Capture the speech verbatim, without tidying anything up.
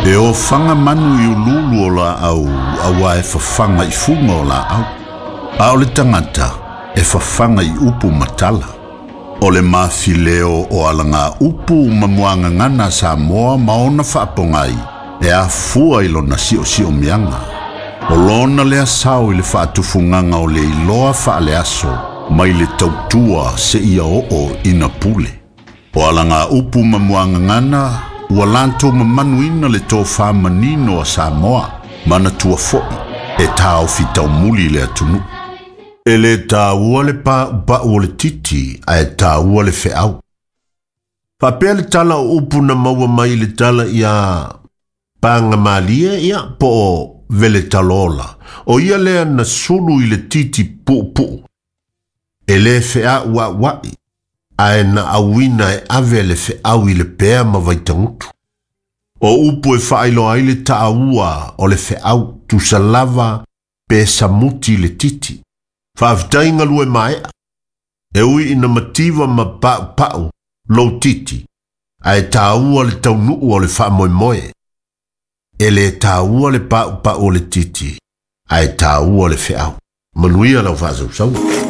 E ofaga manu i uluulu o laau auā e fafaga i fuga o laau. A o le tagata e fafaga i upu ma tala. O le mafileo o alaga upu ma muagagana a Samoa ma ona faapogai e afua i lona siosiomiaga. O lona lea sao i le faatufugaga o le iloa faaleaso mai le tautua seia oo ina pule. O alaga upu ma muagagana ua latou mamanuina le tofā manino a Samoa manatua fo'i e taofi taumuli le atunuu. E lē taua le paupau o le titi ae taua le feau. Faapea le tala o upu na maua mai le tala ia pagamalie ia po o veletalola. O ia lea na sulu i le titi puupuu. E lē feauaua'i ae na auina e ave le feau i le pea ma Vaitagutu. O upu e faailoa ai le taua o le feau tusa lava pe samuti le titi. Faafetai galue maea. E ui ina mativa ma paupau lou titi, ae taua le taunuu o le faamoemoe. E lē taua le paupau o le titi, ae taua le feau. Manuia lau faasausauga.